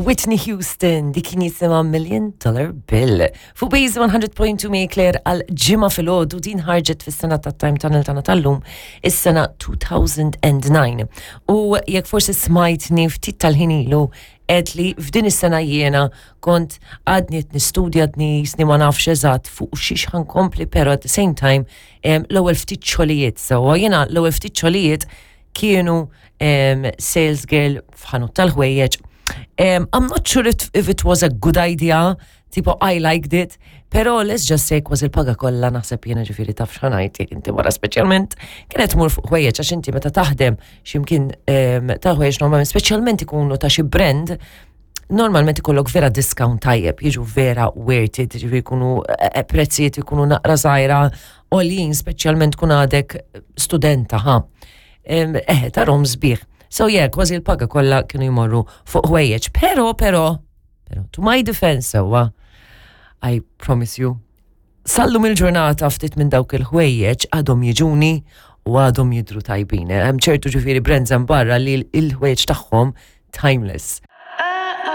Whitney Houston, dik kien jisimha Million Dollar Bill. Fuq Base 100.2 mi Claire għal ġimgħa filgħodu din ħarġet fis-sena ta' Time Tunnel tagħna tal-lum, is-sena 2009. U jekk forsi smajtni ftit tal-ħin ilu għedt li f'din is-sena jiena kont għadni qed nistudja għadni jisni ma nafx eżatt fuq xiex ħankompli, pero at the same time l-ewwel ftit xogħlijiet sewwa jiena l-ewwel ftit xogħlijiet kienu sales girl f'ħanut tal-ħwejjeġ. I'm not sure if it was a good idea, tipo I liked it, pero let's just say kważi l-paga kollha naħseb jiena ġifieri taf x'ħanajt jekk inti wara speċjalment kienet tmur fuq ħwejjeġ għax inti meta taħdem x'imkien ta' ħwejjeġ normalment speċjalment ikunu ta' xi brand normalment ikollok vera discount tajjeb, jiġu vera worth it, ġifieri jkunu prezzijiet ikunu naqra żgħira għoljin speċjalment tkun għadek studenta ħa. Eħe, tarhom sbieħ. So yeah, kważi l-paga kollha kienu jmorru fuq ħwejjeġ. Pero, pero, pero, to my defense sewwa, I promise you, sallum il-ġurnata ftit minn dawk il-ħwejjeġ għadhom jiġuni u għadhom jidru tajbin. Hemm ċertu ġifieri brands hemm barra li l-ħwejjeġ tagħhom timeless.